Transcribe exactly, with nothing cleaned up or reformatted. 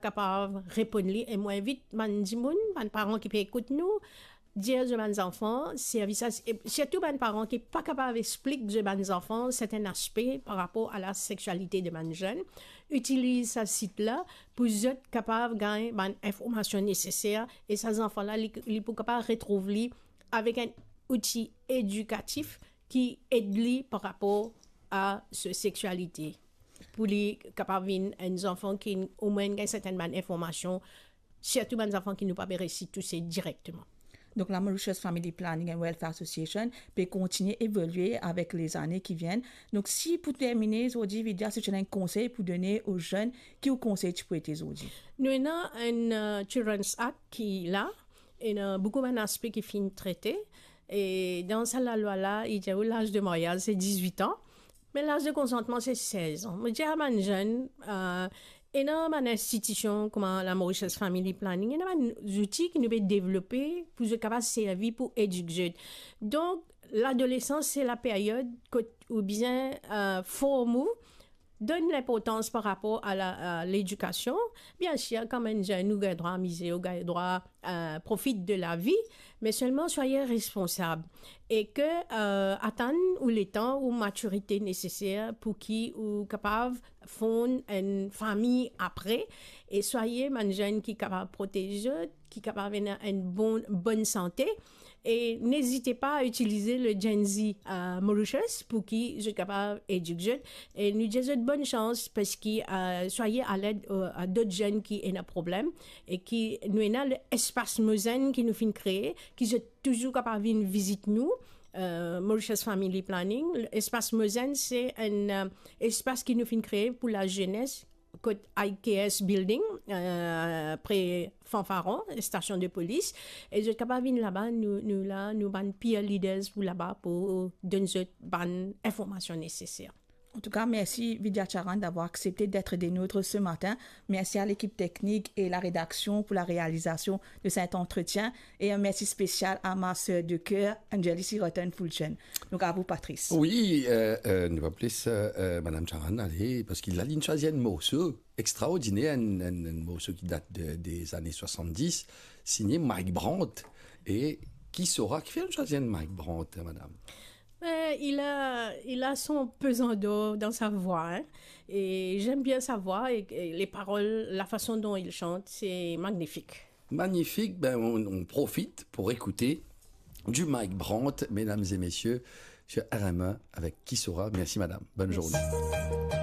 kapav reponn li. E mo invit bann dimoun, bann paran ki pe ekout nou, dir zot bann zanfan, servi sa, e sirtou bann paran ki pa kapav explik zot bann zanfan sertin aspe par rapor a la seksualite de bann zenn, itiliz sa sit la pou zot kapav gagn bann informasion neseser, e sa zanfan la, li, li pou kapav retrouv li avek enn outi edikatif ki ed li par rapor a so seksualite, pou li kapav vinn enn zanfan ki omwin gagn sertin bann informasion, sirtou bann zanfan ki nou pa pe resi touse direkteman. Donk, la Mauritius Family Planning and Welfare Association pe kontigne evolie avek lezane ki vinn. Donk, si pou termine, zordi, Vidya, si to ena enn konsey pou done o zenn, ki ou konsey ti pou ete zordi? Nou ena enn, euh, Children's Act ki la, ena boukou bann aspe ki finn trete, e dan sa lalwa la, li dir ou laz de maryaz se dizwit an, me laz de konsantman se sez an. Mo dir a bann zenn, euh, ena bann institision kouma la Mauritius Family Planning, ena bann zouti ki nou pe devlope pou zot kapav servi pou edik zot. Donk, ladolesans se laperyod kot ou bizin, euh, form ou, donn linportans par rapor a la, a ledikasion. Biensir, kan ou enn zenn, ou gagn drwa amize, ou gagn drwa, euh, profit de lavi, me selman swaye responsab. E ke, euh, atann ou letan ou matirite neseser pou ki ou kapav fonn enn fami apre, e swaye bann zenn ki kapav protez zot, ki kapav ena enn bon, bonn sante, e nezite pa itilize le Gen Z, euh, Mauritius pou ki zot kapav edik zot. E nou dir zot bonn sans, parski, euh, swaye aled, euh, a dot zenn ki ena problem, e ki nou ena le Espas Mo Zenn ki nou finn kree, ki zot touzour kapav vinn vizit nou, euh, Mauritius Family Planning. Le Espas Mo Zenn se enn, euh, espas ki nou finn kree pou lazenes, kot I K S Building, euh, pre Fanfaron, stasion de polis. E zot kapav vinn laba, nou, nou la, nou bann peer leaders pou laba pou donn zot bann informasion neseser. En tout cas, merci Vidya Charan d'avoir accepté d'être des nôtres ce matin. Merci à l'équipe technique et la rédaction pour la réalisation de cet entretien. Et un merci spécial à ma sœur de cœur, Anjali Sirotan Fulchen. Donc à vous, Patrice. Wi, euh, euh, nou va les, euh, euh, Madam Charan ale, parski li inn swazir enn morso extraordiner, enn, enn, enn morso ki dat de, des années soixante-dix, signé Mike Brandt. E ki sora, ki fer ou swazir enn Mike Brandt, hein, madam? Euh, il a, il a son pesant d'or dans sa voix, hein. Et j'aime bien sa voix et, et les paroles, la façon dont il chante, c'est magnifique. Magnifique, ben on, on profite pour écouter du Mike Brandt, mesdames et messieurs, sur R M un avec Qui sera. Merci madame, bonne journée.